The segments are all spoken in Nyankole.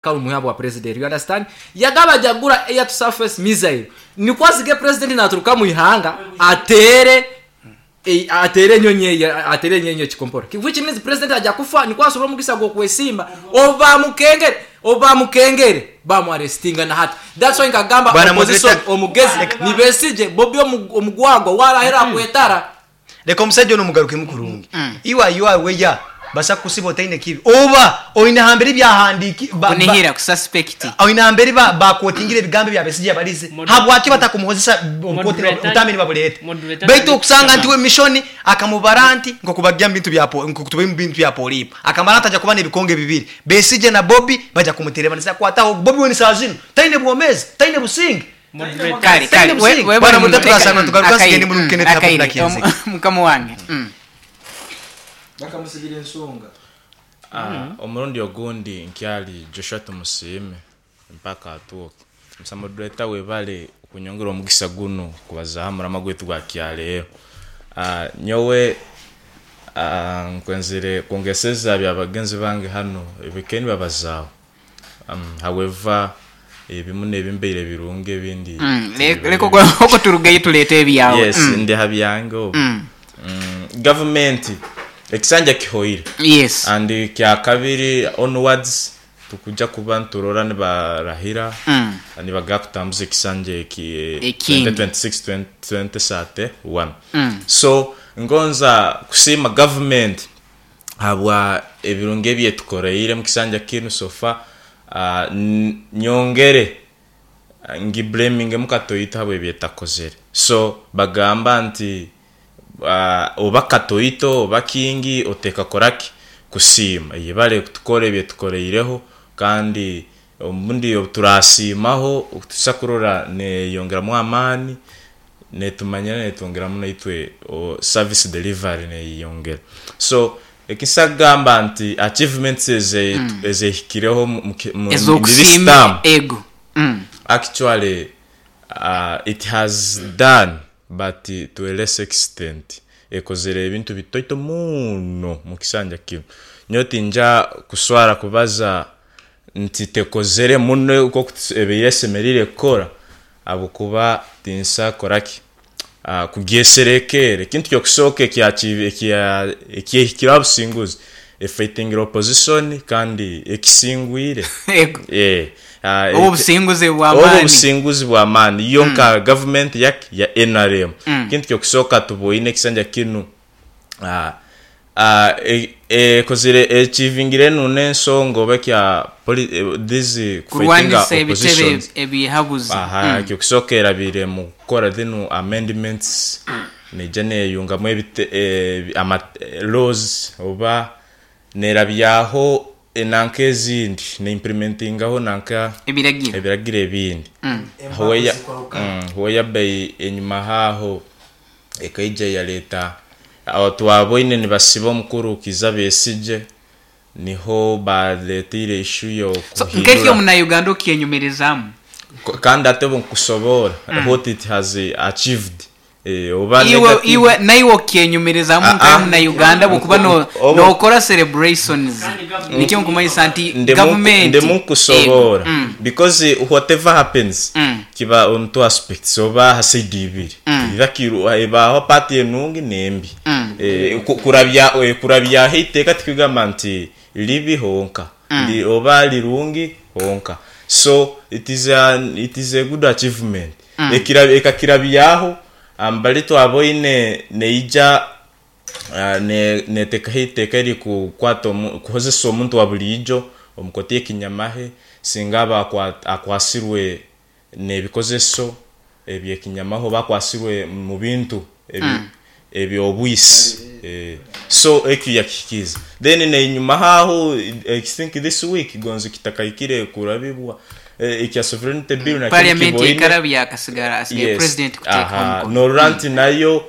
Karumuha bwa president, you understand? Yagaba ajagura air to surface missile nikwo azige president naturuka mu ihanga ateere ateere enyonyi eyo ateere enyonyi ekikompora which means president aja kufa nikwo asobora omugisa gw'okwesimba obu bamukengere obu bamukengere bamu arrestinga na hati that's why nkagamba Bwana opposition moderator, omugezi ni Besigye Bobi omugwagwa warahera akwetara. Leka omusaija onu omugarukemu kurungi. Iwe are you aware basa kukusiba otaine kibi oba oine hambere ebyahandiki ba, ba, Kunihira, ku suspect. oine hambere ba, ba quotingire ebigambo ebya Besigye yabarize habwaki batakumuhozesa omu kooti Moderator- obutambi nibabureeta Moderator baitu tari okusanga nti kutama. we mission akamubara nti nkokubagya mu bintu bya po- nkokutuba mu bintu bya polipo akamara nti aja kuba nebikonge bibiri Besigye na Bobi baja kumuterebanisa kwataho Bobi we ni saa zinu taine bwomezi taine businge Moderator. Kale, Taine kale, we- businge. we- Bwana we- Moderator, reka- turasanga tugaruka akaire, nsigende muri Kenneth akaire, Hapo Nakinze. mukama wange. Bakamusigira ensonga. Omurundi ogundi nkyali Joshua Tumusiime mpaka atuuke. Musa moderator webale kunyongera omugisa gunu kubaza aha murama gwaitu gwa kyaleero. Nyowe nkwenzire kwongeseza bya bagenzi bange hanu ebikaire nibabazaaho. However, ebimu n'ebimbaire birungi ebindi Leka okwo turugeyo tuleete ebyawe. Yes, ndi ha byange obu. Gavumenti ekisanja kihoire. Yes. And kyakabiri onwards tukuja kuba niturora nibarahira nibaga kutambuza ekisanja eki Ekindi. 2026 2031. So ngonza kusiima gavumenti habwa ebirungi ebyetukoreire mu kisanja kinu so far. Nyongere ngi blamingemu Katoito habwa ebyetakozere. So bagamba nti oba Katoito oba kingi oteeka koraki kusiima. Yebale kutukora ebyetukoreireho kandi obundi obuturasiimaho tusa kurora neyongeramu amaani netumanyira netwongeramu naitwe service delivery neyongera. So ekinsa kugamba nti achievements ezehikireho mu this Ez'okusiima term, ego. Actually it has done but to a less extent ekozere ebintu bitoito muno mu kisanja kinu. Nyowe tinja kuswara kubaza nti tekozere muno nkoku ebaire esemerire kukora ahabw'okuba tinsa koraki kugyeserekeera. Ekintu ky'okusooka ekyehikire aha businguzi efightingire opposition kandi ekisingwire. Ego. Eh, Obu obusinguzi obu bw'amaani. obusinguzi bw'amaani yo nka gavumenti yaki ya NRM. Ekintu ky'okusooka tuboine ekisanja kinu ekozire echivingire enu n'ensonga oba ekya these kufightinga Kurwanisa ebitebe oppositions. ebihabuzi. Aha, ekyokusooka erabire mu kukora zinu amendments neija neyungamu laws oba nerabyaho enanka ezindi neimplementingaho nanka Ebiragiro. ebiragiro ebindi. Whereby enyuma haaho ekaija yaleeta aho twaboine nibasiba omukuru Kizza Besigye niho baleteire issue yo So kuhindura. nk'eki omunauganda okyenyumirizaamu. Kandi ate obu nkusoboora what it has achieved. Oba Iwe, negative. iwe, naiwe okyenyumirizaamu nka omunauganda bw'okuba nokora celebrations. Nikyo nkumanyisa nti gavumenti Ndimu nkusoboora. Ego. Because whatever happens kiba on two aspects oba ha side ibiri. Either ebaho part enungi n'embi. Kurabyaho eiteeka tikugamba nti ribi honka. Oba rirungi honka. So it is a good achievement. Ekakirabyaho ambali twaboine neija netekaho eiteeka eri kukwata kuhozesa omuntu wa buriijo omukoti y'ekinyamahe singa aba akwasirwe n'ebikozeso ebyekinyamahe oba akwasirwe mu bintu ebyobwisi. So ekyo yakihikiiza. Then nenyuma haaho I think this week gonzi kitakahikire kurabibwa ekya sovereignty bill nakyo Parliament kiboine. ekarabya akasigara asigaye Yes. president kuteekaho Aha. omukono. Norora nti nayo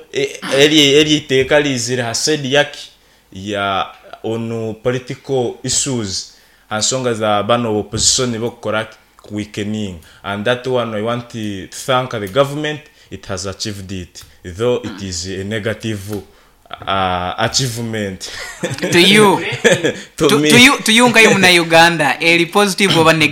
eri iteeka rizire ha side yaki ya onu political issues ha nsonga za bano opposition bokukora weakening, and that one I want to thank the government, it has achieved it though it is a negative Achievement To you to to me. to you to you nka muna Uganda eri positive oba negative?